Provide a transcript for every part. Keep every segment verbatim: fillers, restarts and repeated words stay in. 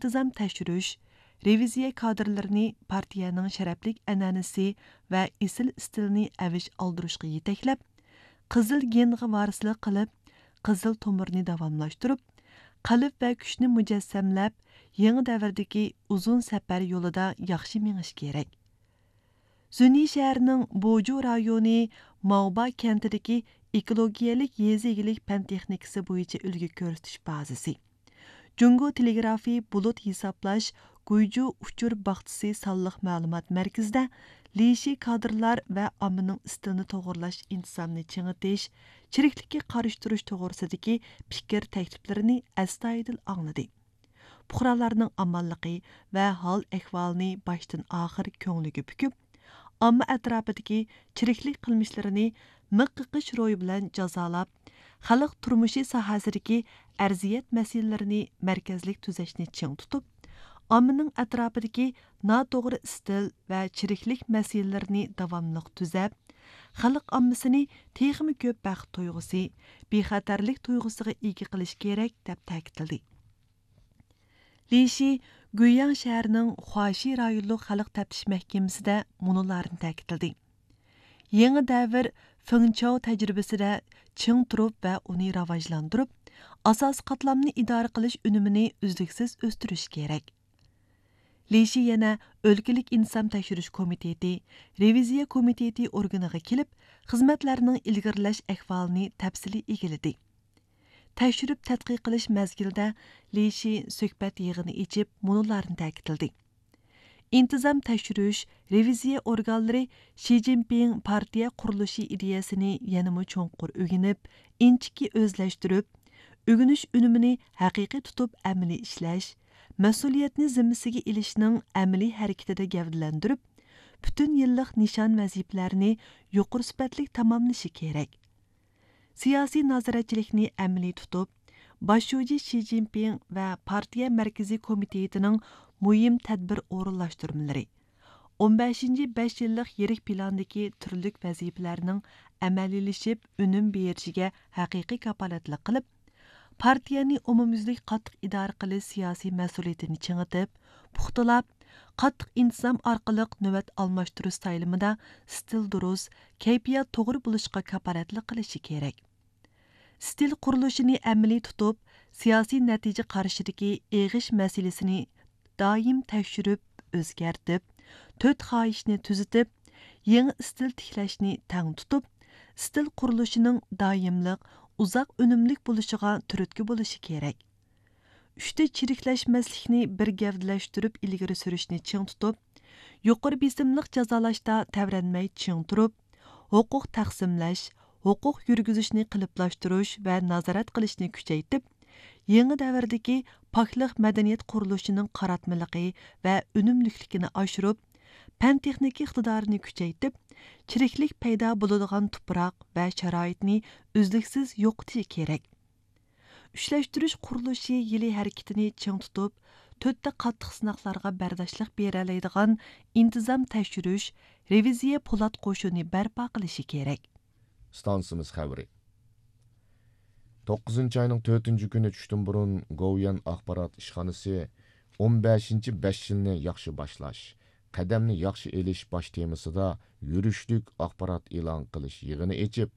ئىنتىزام تەكشۈرۈش، رېۋىزىيە كادىرلىرىنى پارتىيەنىڭ شەرەپلىك ئەنئەنىسى ۋە ئېسىل ئىستىلىنى ئەۋج ئالدۇرۇشقا يېتەكلەپ، قىزىل گېنغا ۋارىسلىق قىلىپ، قىزىل تومۇرنى داۋاملاشتۇرۇپ، قەلب ۋە كۈچنى مۇجەسسەملەپ، يېڭى دەۋردىكى ئۇزۇن سەپەر يولىدا ياخشى مېڭىش كېرەك. زۈنيى شەھىرىنىڭ بوجۇ رايونى ماۋبا كەنتىدىكى ئېكولوگىيەلىك يېزا ئىگىلىك پەن تېخنىكىسى بويىچە ئۈلگە كۆرسىتىش بازىسى، جۇڭگو تېلېگرافى بۇلۇت ھېسابلاش گۇيجۇ ئۇچۇر باغچىسى سانلىق مەلۇمات مەركىزىدە لىشى كادىرلار ۋە ئاممىنىڭ ئىستىلىنى توغرىلاش ئىنتىزامنى چىڭىتىش، چىرىكلىككە قارشى تۇرۇش توغرىسىدىكى پىكىر تەكلىپلىرىنى ئەستايىدىل ئاڭلىدى. پۇقرالارنىڭ ئامانلىقى ۋە ھال ئەھۋالىنى باشتىن ئاخىر كۆڭلىگە پۈكۈپ، ئامما ئەتراپىدىكى چىرىكلىك قىلمىشلىرىنى مىق قېقىش روھى بىلەن جازالاپ، خەلق تۇرمۇشى ساھەسىدىكى ئەرزىيەت مەسىلىلىرىنى مەركەزلىك تۈزەشنى چىڭ تۇتۇپ، ئاممىنىڭ ئەتراپىدىكى ناتوغرا ئىستىل ۋە چىرىكلىك مەسىلىلىرىنى داۋاملىق تۈزەپ، خەلق ئاممىسىنى تېخىمۇ كۆپ بەخت تۇيغۇسى، بىخەتەرلىك تۇيغۇسىغا ئىگە قىلىش كېرەك، دەپ تەكىتلىدى. لى شى گۇيياڭ شەھىرىنىڭ خۇاشى رايونلۇق خەلق تەپتىش مەھكىمىسىدە مۇنۇلارنى تەكىتلىدى: يېڭى دەۋر فېڭچاۋ تەجرىبىسىدە چىڭ تۇرۇپ ۋە ئۇنى راۋاجلاندۇرۇپ، ئاساسىي قاتلامنى ئىدارە قىلىش ئۈنۈمىنى ئۈزلۈكسىز ئۆستۈرۈش كېرەك. لى شى يەنە ئۆلكىلىك ئىنتىزام تەكشۈرۈش كومىتېتى، رېۋىزىيە كومىتېتى ئورگىنىغا كېلىپ، خىزمەتلەرنىڭ ئىلگىرىلەش ئەھۋالىنى تەپسىلىي ئىگىلىدى. تەكشۈرۈپ تەتقىق قىلىش مەزگىلىدە لى شى سۆھبەت يىغىنى ئېچىپ، مۇنۇلارنى تەكىتلىدى: ئىنتىزام تەكشۈرۈش، رېۋىزىيە ئورگانلىرى شى جىنپىڭ پارتىيە قۇرۇلۇشى ئىدىيەسىنى يەنىمۇ چوڭقۇر ئۆگىنىپ، ئىنچىكە ئۆزلەشتۈرۈپ، ئۆگىنىش ئۈنۈمىنى ھەقىقىي تۇتۇپ ئەمەلىي ئىشلەش، مەسئۇلىيەتنى زىممىسىگە ئېلىشنىڭ ئەمەلىي ھەرىكىتىدە گەۋدىلەندۈرۈپ، پۈتۈن يىللىق نىشان ۋەزىپىلەرنى يۇقىرى سۈپەتلىك تاماملىشى كېرەك. سىياسىي نازارەتچىلىكنى ئەمەلىي تۇتۇپ، باش شۇجى شى جىنپىڭ ۋە پارتىيە مەركىزىي كومىتېتىنىڭ مۇھىم تەدبىر ئورۇنلاشتۇرمىلىرى، ئون بەشىنچى بەش يىللىق يىرىك پىلاندىكى تۈرلۈك ۋەزىپىلەرنىڭ ئەمەلىيلىشىپ ئۈنۈم بېرىشىگە ھەقىقىي كاپالەتلىك قىلىپ، پارتىيەنى ئومۇميۈزلۈك قاتتىق ئىدارە قىلىش سىياسىي مەسئۇلىيىتىنى چىڭىتىپ، پۇختىلاپ، قاتتىق ئىنتىزام ئارقىلىق نۆۋەت ئالماشتۇرۇش سايلىمىدا ئىستىل دۇرۇس، كەيپىيات توغرا بولۇشقا كاپالەتلىك قىلىشى كېرەك. ئىستىل قۇرۇلۇشىنى ئەمەلىي تۇتۇپ، سىياسىي نەتىجە قارىشىدىكى ئېغىش مەسىلىسىنى دائىم تەكشۈرۈپ، ئۆزگەرتىپ، تۆت خاھىشنى تۈزىتىپ، يېڭى ئىستىل تىكلەشنى تەڭ تۇتۇپ، ئىستىل قۇرۇلۇشىنىڭ دائىملىق، ئۇزاق ئۈنۈملۈك بولۇشىغا تۈرتكە بولۇشى كېرەك. ئۈچتە چىرىكلەشمەسلىكنى بىر گەۋدىلەشتۈرۈپ ئىلگىرى سۈرۈشنى چىڭ تۇتۇپ، يۇقىرى بېسىملىق جازالاشتا تەۋرەنمەي چىڭ تۇرۇپ، ھوقۇق تەقسىملەش، ھوقۇق يۈرگۈزۈشنى قېلىپلاشتۇرۇش ۋە نازارەت قىلىشنى كۈچەيتىپ، يېڭى دەۋردىكى پاكلىق مەدەنىيەت قۇرۇلۇشىنىڭ قاراتمىلىقى ۋە ئۈنۈملۈكلۈكىنى ئاشۇرۇپ، پەن تېخنىكا ئىقتىدارىنى كۈچەيتىپ، چىرىكلىك پەيدا بولىدىغان تۇپراق ۋە شارائىتنى ئۈزلۈكسىز يوقىتىشى كېرەك. ئۈچلەشتۈرۈش قۇرۇلۇشى يىلى ھەرىكىتىنى چىڭ تۇتۇپ، تۆتتە قاتتىق سىناقلارغا بەرداشلىق بېرەلەيدىغان ئىنتىزام تەكشۈرۈش، رېۋىزىيە پولات قوشۇنى بەرپا قىلىشى كېرەك. ئىستانسىمىز خەۋىرى. توققۇزىنچى ئاينىڭ تۆتىنچى كۈنى چۈشتىن بۇرۇن گوۋۇيۈەن ئاخبارات ئىشخانىسى ئون بەشىنچى بەش يىلنى ياخشى باشلاش، قەدەمنى ياخشى ئېلىش باش تېمىسىدا يۈرۈشلۈك ئاخبارات ئېلان قىلىش يىغىنى ئېچىپ،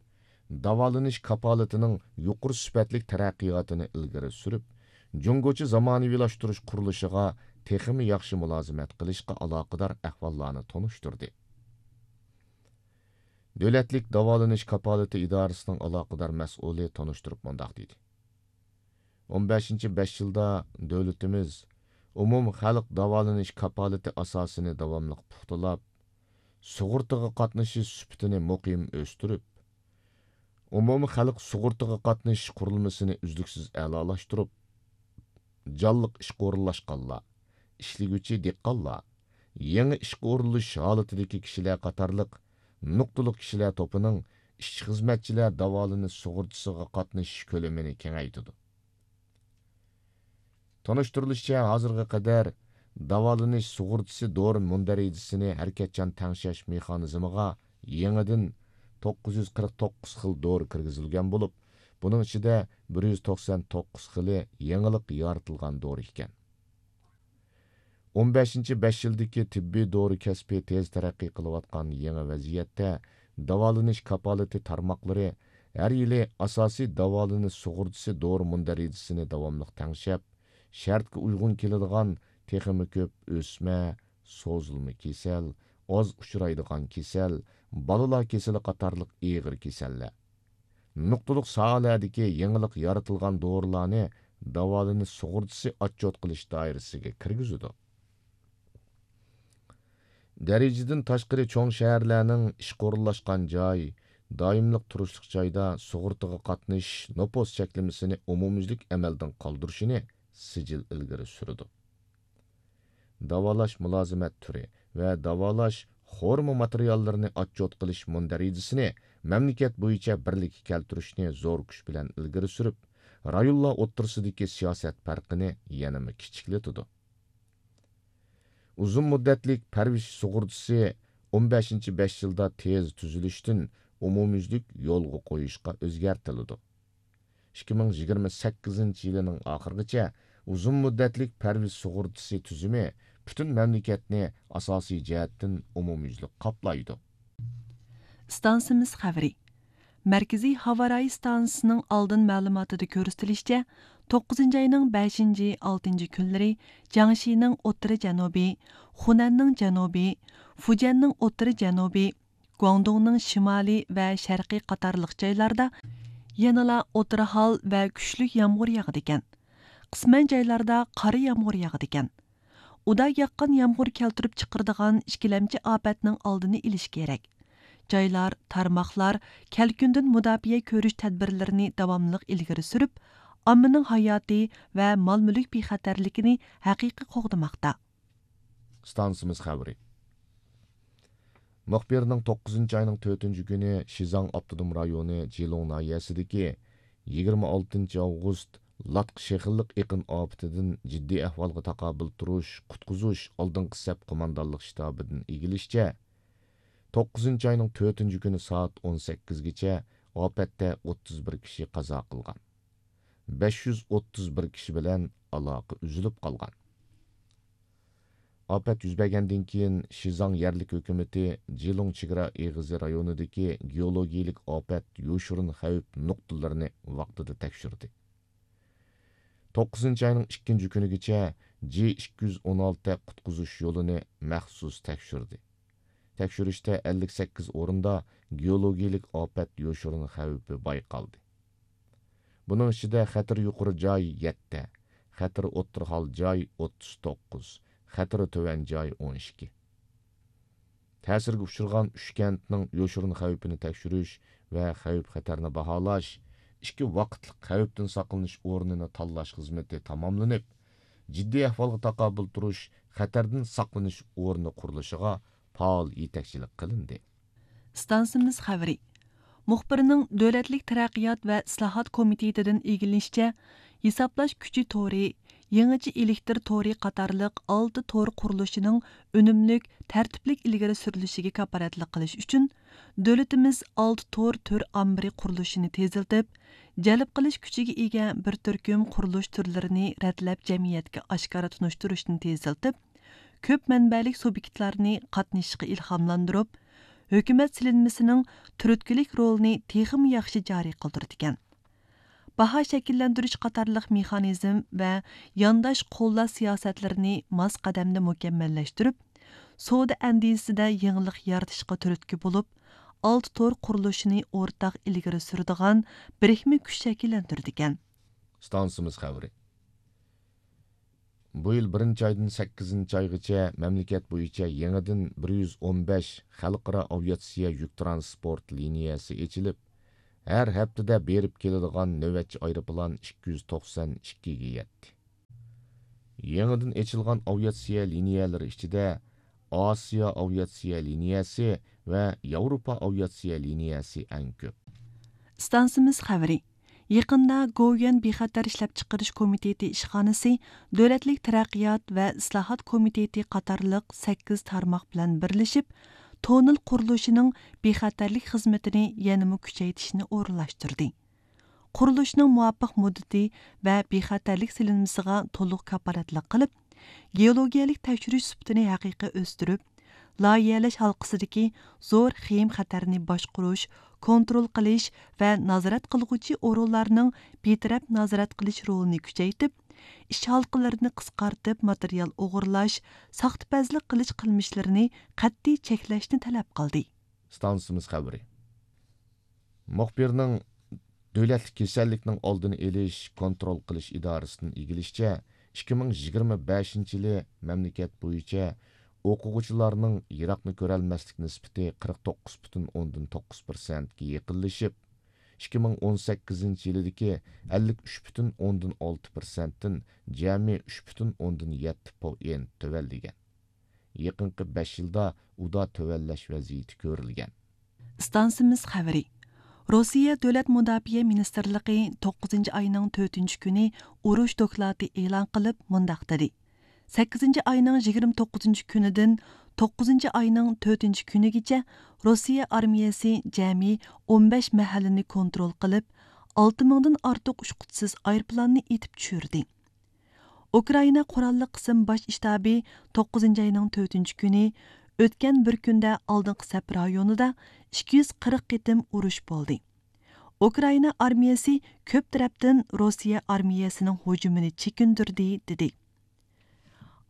داۋالىنىش كاپالىتىنىڭ يۇقىرى سۈپەتلىك تەرەققىياتىنى ئىلگىرى سۈرۈپ، جۇڭگوچە زامانىۋىلاشتۇرۇش قۇرۇلۇشىغا تېخىمۇ ياخشى مۇلازىمەت قىلىشقا ئالاقىدار ئەھۋاللارنى تونۇشتۇردى. دۆلەتلىك داۋالىنىش كاپالىتى ئىدارىسىنىڭ ئالاقىدار مەسئۇلى تونۇشتۇرۇپ مۇنداق دېدى: ئون بەشىنچى بەش يىلدا دۆلىتىمىز ئومۇمخەلق داۋالىنىش كاپالىتى ئاساسىنى داۋاملىق پۇختىلاپ، سۇغۇرتىغا قاتنىشىش سۈپىتىنى مۇقىم ئۆستۈرۈپ، ئومۇمخەلق سۇغۇرتىغا قاتنىشىش قۇرۇلمىسىنى ئۈزلۈكسىز ئەلالاشتۇرۇپ، جانلىق ئىشقا ئورۇنلاشقانلار، ئىشلىگۈچى دېھقانلار، يېڭى ئىشقا ئورۇنلىشىش ھالىتىدىكى كىشىلەر قاتارلىق نۇقتىلىق كىشىلەر توپىنىڭ ئىشچى-خىزمەتچىلەر داۋالىنىش سۇغۇرتىسىغا قاتنىشىش كۆلىمىنى كېڭەيتىدۇ. تونۇشتۇرۇلۇشىچە، ھازىرغا قەدەر داۋالىنىش سۇغۇرتىسى دورا مۇندەرىجىسىنى ھەرىكەتچان تەڭشەش مېخانىزمىغا يېڭىدىن توققۇز يۈز قىرىق توققۇز خىل دورا كىرگۈزۈلگەن بولۇپ، بۇنىڭ ئىچىدە بىر يۈز توقسان توققۇز خىلى يېڭىلىق يارىتىلغان دورا ئىكەن. ئون بەشىنچى بەش يىلدىكى تېببىي دورا كەسپى تېز تەرەققىي قىلىۋاتقان يېڭى ۋەزىيەتتە، داۋالىنىش كاپالىتى تارماقلىرى ھەر يىلى ئاساسىي داۋالىنىش سۇغۇرتىسى دورا مۇندەرىجىسىنى داۋاملىق تەڭشەپ، شەرتكە ئۇيغۇن كېلىدىغان تېخىمۇ كۆپ ئۆسمە، سوزۇلما كېسەل، ئاز ئۇچرايدىغان كېسەل، بالىلار كېسىلى قاتارلىق ئېغىر كېسەللەر، نۇقتىلىق ساھەلەردىكى يېڭىلىق يارىتىلغان دورىلارنى داۋالىنىش سۇغۇرتىسى ئاتچوت قىلىش دائىرىسىگە كىرگۈزىدۇ. دەرىجىدىن تاشقىرى چوڭ شەھەرلەرنىڭ ئىشقا ئورۇنلاشقان جاي، دائىملىق تۇرۇشلۇق جايدا سۇغۇرتىغا قاتنىشىش نوپۇس چەكلىمىسىنى ئومۇميۈزلۈك ئەمەلدىن قالدۇرۇشىنى سىجىل ئىلگىرى سۈرىدۇ. داۋالاش مۇلازىمەت تۈرى ۋە داۋالاش خورما ماتېرىياللىرىنى ئاتچوت قىلىش مۇندەرىجىسىنى مەملىكەت بويىچە بىرلىككە كەلتۈرۈشنى زور كۈچ بىلەن ئىلگىرى سۈرۈپ، رايونلار ئوتتۇرىسىدىكى سىياسەت پەرقىنى يەنىمۇ كىچىكلىتىدۇ. ئۇزۇن مۇددەتلىك پەرۋىش سۇغۇرتىسى ئون بەشىنچى بەش يىلدا تېز تۈزۈلۈشتىن ئومۇميۈزلۈك يولغا قويۇشقا ئۆزگەرتىلىدۇ. ئىككى مىڭ يىگىرمە سەككىزىنچى يىلىنىڭ ئاخىرىغىچە ئۇزۇن مۇددەتلىك پەرۋىش سۇغۇرتىسى تۈزۈمى پۈتۈن مەملىكەتنى ئاساسىي جەھەتتىن ئومۇميۈزلۈك قاپلايدۇ. ئىستانسىمىز خەۋىرى. مەركىزىي ھاۋارايى ئىستانسىسىنىڭ ئالدىن مەلۇماتىدا كۆرسىتىلىشىچە، توققۇزىنچى ئاينىڭ بەشىنچى، ئالتىنچى كۈنلىرى جياڭشىنىڭ ئوتتۇرا جەنۇبى، خۇنەننىڭ جەنۇبى، فۇجيەننىڭ ئوتتۇرا جەنۇبى، گۇاڭدۇڭنىڭ شىمالى ۋە شەرقى قاتارلىق جايلاردا يەنىلا ئوتتۇرا ھال ۋە كۈچلۈك يامغۇر ياغىدىكەن. قىسمەن جايلاردا قارا يامغۇر ياغىدىكەن. ئۇدا ياغقان يامغۇر كەلتۈرۈپ چىقىرىدىغان ئىككىلەمچى ئاپەتنىڭ ئالدىنى ئېلىش كېرەك. جايلار، تارماقلار كەلكۈندىن مۇداپىئە كۆرۈش تەدبىرلىرىنى داۋاملىق ئىلگىرى سۈرۈپ، ئاممىنىڭ ھاياتى ۋە مال-مۈلۈك بىخەتەرلىكىنى ھەقىقىي قوغدىماقتا. ئىستانسىمىز خەۋىرى. مۇخبىرنىڭ توققۇزىنچى ئاينىڭ تۆتىنچى كۈنى شىزاڭ ئاپتونوم رايونى جىلۇڭ ناھىيەسىدىكى يىگىرمە ئالتىنچى ئاۋغۇست لاتقا شېخىللىق ئېقىن ئاپىتىدىن جىددىي ئەھۋالغا تاقابىل تۇرۇش، قۇتقۇزۇش ئالدىنقى سەپ قوماندانلىق شتابىدىن ئىگىلىشىچە، توققۇزىنچى ئاينىڭ تۆتىنچى كۈنى سائەت ئون سەككىزگىچە ئاپەتتە ئوتتۇز بىر كىشى قازا قىلغان. بەش يۈز ئوتتۇز بىر كىشى بىلەن ئالاقە ئۈزۈلۈپ قالغان. ئاپەت يۈز بەرگەندىن كېيىن، شىزاڭ يەرلىك ھۆكۈمىتى جىلۇڭ چېگرا ئېغىزى رايونىدىكى گېئولوگىيىلىك ئاپەت يوشۇرۇن خەۋپ نۇقتىلىرىنى ۋاقتىدا تەكشۈردى. توققۇزىنچى ئاينىڭ ئىككىنچى كۈنىگىچە جى ئىككى يۈز ئون ئالتە قۇتقۇزۇش يولىنى مەخسۇس تەكشۈردى. تەكشۈرۈشتە ئەللىك سەككىز ئورۇندا گېئولوگىيىلىك ئاپەت يوشۇرۇن خەۋپى بايقالدى. بۇنىڭ ئىچىدە خەتىرى يۇقىرى جاي يەتتە، خەتىرى ئوتتۇرا ھال جاي ئوتتۇز توققۇز، خەتىرى تۆۋەن جاي ئون ئىككى. تەسىرگە ئۇچرىغان ئۈچ كەنتنىڭ يوشۇرۇن خەۋپىنى تەكشۈرۈش ۋە خەۋپ خەتەرنى باھالاش، ئىككى ۋاقىتلىق خەۋپتىن ساقلىنىش ئورنىنى تاللاش خىزمىتى تاماملىنىپ، جىددىي ئەھۋالغا تاقابىل تۇرۇش خەتەردىن ساقلىنىش ئورنى قۇرۇلۇشىغا پائال يېتەكچىلىك قىلىندى. ئىستانسىمىز خەۋىرى. مۇخبىرنىڭ دۆلەتلىك تەرەققىيات ۋە ئىسلاھات كومىتېتىدىن ئىگىلىنىشىچە، ھېسابلاش كۈچى تورى، يېڭىچە ئېلېكتىر تورى قاتارلىق ئالتە تور قۇرۇلۇشىنىڭ ئۈنۈملۈك، تەرتىپلىك ئىلگىرى سۈرۈلۈشىگە كاپالەتلىك قىلىش ئۈچۈن، دۆلىتىمىز ئالتە تور تۈر ئامبىرى قۇرۇلۇشىنى تېزلىتىپ، جەلپ قىلىش كۈچىگە ئىگە بىر تۈركۈم قۇرۇلۇش تۈرلىرىنى رەتلەپ جەمئىيەتكە ئاشكارا تونۇشتۇرۇشنى تېزلىتىپ، كۆپ مەنبەلىك سۇبيېكتلارنى قاتنىشىشقا ئىلھاملاندۇرۇپ، ھۆكۈمەت سېلىنمىسىنىڭ تۈرتكىلىك رولىنى تېخىمۇ ياخشى جارى قىلدۇرىدىكەن. باھا شەكىللەندۈرۈش قاتارلىق مېخانىزم ۋە يانداش قوللاش سىياسەتلىرىنى ماس قەدەمدە مۇكەممەللەشتۈرۈپ، سودا ئەندىزىسىدە يېڭىلىق يارىتىشقا تۈرتكە بولۇپ، ئالتە تور قۇرۇلۇشىنى ئورتاق ئىلگىرى سۈرىدىغان بىرىكمە كۈچ شەكىللەندۈرىدىكەن. ئىستانسىمىز خەۋىرى. بۇ يىل بىرىنچى ئايدىن سەككىزىنچى ئايغىچە مەملىكەت بويىچە يېڭىدىن بىر يۈز ئون بەش خەلقئارا ئاۋىئاتسىيە يۈك تىرانسپورت لىنىيەسى ئېچىلىپ، ھەر ھەپتىدە بېرىپ كېلىدىغان نۆۋەتچى ئايروپىلان ئىككى يۈز توقسان ئىككىگە يەتتى. يېڭىدىن ئېچىلغان ئاۋىئاتسىيە لىنىيەلىرى ئىچىدە ئاسىيا ئاۋىئاتسىيە لىنىيەسى ۋە ياۋروپا ئاۋىئاتسىيە لىنىيەسى ئەڭ كۆپ. ئىستانسىمىز خەۋىرى. يېقىندا گوۋۇيۈەن بىخەتەر ئىشلەپچىقىرىش كومىتېتى ئىشخانىسى دۆلەتلىك تەرەققىيات ۋە ئىسلاھات كومىتېتى قاتارلىق سەككىز تارماق بىلەن بىرلىشىپ، توننېل قۇرۇلۇشىنىڭ بىخەتەرلىك خىزمىتىنى يەنىمۇ كۈچەيتىشنى ئورۇنلاشتۇردى. قۇرۇلۇشنىڭ مۇۋاپىق مۇددىتى ۋە بىخەتەرلىك سېلىنمىسىغا تولۇق كاپالەتلىك قىلىپ، گېئولوگىيەلىك تەكشۈرۈش سۈپىتىنى ھەقىقىي ئۆستۈرۈپ، لايىھەلەش ھالقىسىدىكى زور خېيىم خەتەرنى باشقۇرۇش، كونترول قىلىش ۋە نازارەت قىلغۇچى ئورۇنلارنىڭ بىتەرەپ نازارەت قىلىش رولىنى كۈچەيتىپ، ئىش ھالقىلىرىنى قىسقارتىپ، ماتېرىيال ئوغرىلاش، ساختىپەزلىك قىلىش قىلمىشلىرىنى قەتئىي چەكلەشنى تەلەپ قىلدى. ئىستانسىمىز خەۋىرى. مۇخبىرنىڭ دۆلەتلىك كېسەللىكنىڭ ئالدىنى ئېلىش، كونترول قىلىش ئىدارىسىدىن ئىگىلىشىچە، ئىككى مىڭ يىگىرمە بەشىنچى يىلى مەملىكەت بويىچە ئوقۇغۇچىلارنىڭ يىراقنى كۆرەلمەسلىك نىسبىتى قىرىق توققۇز پۈتۈن ئوندىن توققۇز پىرسەنتكە يېقىنلىشىپ، ئىككى مىڭ ئون سەككىزىنچى يىلىدىكى ئەللىك ئۈچ پۈتۈن ئوندىن ئالتە پىرسەنتتىن جەمئىي ئۈچ پۈتۈن ئوندىن يەتتە پوئىنت تۆۋەنلىگەن. يېقىنقى بەش يىلدا ئۇدا تۆۋەنلەش ۋەزىيىتى كۆرۈلگەن. ئىستانسىمىز خەۋىرى. روسىيە دۆلەت مۇداپىئە مىنىستىرلىقى توققۇزىنچى ئاينىڭ تۆتىنچى كۈنى ئۇرۇش دوكلاتى ئېلان قىلىپ مۇنداق دېدى: سەككىزىنچى ئاينىڭ يىگىرمە توققۇزىنچى كۈنىدىن توققۇزىنچى ئاينىڭ تۆتىنچى كۈنىگىچە روسىيە ئارمىيەسى جەمئىي ئون بەش مەھەللىنى كونترول قىلىپ، ئالتە مىڭدىن ئارتۇق ئۇچقۇچىسىز ئايروپىلاننى ئېتىپ چۈشۈردى. ئۇكرائىنا قوراللىق قىسىم باش شتابى توققۇزىنچى ئاينىڭ تۆتىنچى كۈنى، ئۆتكەن بىر كۈندە ئالدىنقى سەپ رايونىدا ئىككى يۈز قىرىق قېتىم ئۇرۇش بولدى. ئۇكرائىنا ئارمىيەسى كۆپ تەرەپتىن روسىيە ئارمىيەسىنىڭ ھۇجۇمىنى چېكىندۈردى، دېدى.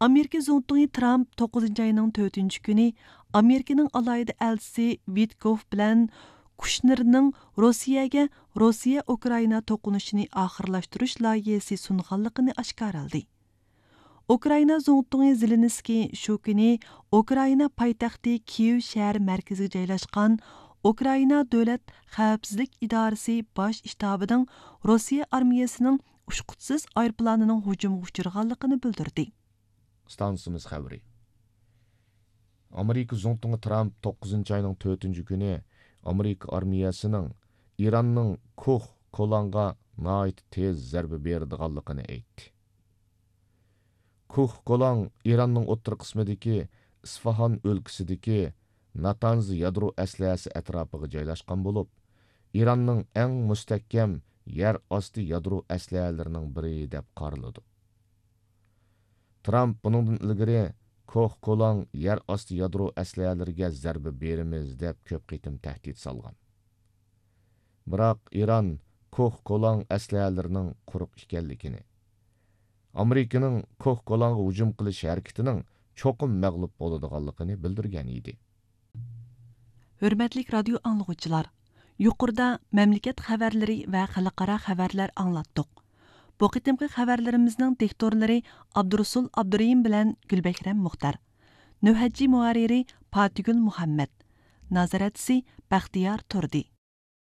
ئامېرىكا زۇڭتۇڭى ترامپ توققۇزىنچى ئاينىڭ تۆتىنچى كۈنى ئامېرىكىنىڭ ئالاھىدە ئەلچىسى ۋىتكوف بىلەن كۇشنېرنىڭ روسىيەگە روسىيە ئۇكرائىنا توقۇنۇشىنى ئاخىرلاشتۇرۇش لايىھىسى سۇنغانلىقىنى ئاشكارىلىدى. ئۇكرائىنا زۇڭتۇڭى زېلېنسكىي شۇ كۈنى ئۇكرائىنا پايتەختى كىيېۋ شەھەر مەركىزىگە جايلاشقان ئۇكرائىنا دۆلەت خەۋپسىزلىك ئىدارىسى باش شتابىنىڭ روسىيە ئارمىيەسىنىڭ ئۇچقۇچىسىز ئايروپىلانىنىڭ ھۇجۇمغا ئۇچرىغانلىقىنى بىلدۈردى. ئىستانسىمىز خەۋىرى. ئامېرىكا زۇڭتۇڭى ترامپ توققۇزىنچى ئاينىڭ تۆتىنچى كۈنى ئامېرىكا ئارمىيەسىنىڭ ئىراننىڭ كوھ كولانغا ناھايىتى تېز زەربە بېرىدىغانلىقىنى ئېيتتى. كوھ كولاڭ ئىراننىڭ ئوتتۇرا قىسمىدىكى ئىسفاھان ئۆلكىسىدىكى ناتانز يادرو ئەسلىھەسى ئەتراپىغا جايلاشقان بولۇپ، ئىراننىڭ ئەڭ مۇستەھكەم يەر ئاستى يادرو ئەسلىھەلىرىنىڭ بىرى دەپ قارىلىدۇ. ترامپ بۇنىڭدىن ئىلگىرى كوھ كولاڭ يەر ئاستى يادرو ئەسلىھەلىرىگە زەربە بېرىمىز دەپ كۆپ قېتىم تەھدىت سالغان. بىراق ئىران كوھ كولاڭ ئەسلىھەلىرىنىڭ قۇرۇق ئىكەنلىكىنى، ئامېرىكىنىڭ كوھ كولاڭغا ھۇجۇم قىلىش ھەرىكىتىنىڭ چوقۇم مەغلۇپ بولىدىغانلىقىنى بىلدۈرگەن ئىدى. ھۆرمەتلىك رادىيو ئاڭلىغۇچىلار، يۇقىرىدا مەملىكەت خەۋەرلىرى ۋە خەلقئارا خەۋەرلەر ئاڭلاتتۇق. بۇ قېتىمقى خەۋەرلىرىمىزنىڭ دىكتورلىرى ئابدۇرۇسۇل ئابدۇرېھىم بىلەن گۈلبەھرەم مۇختەر. نۆھەتچى مۇھەررىرى پاتىگۈل مۇھەممەت. نازارەتچىسى بەختىيار تۇردى.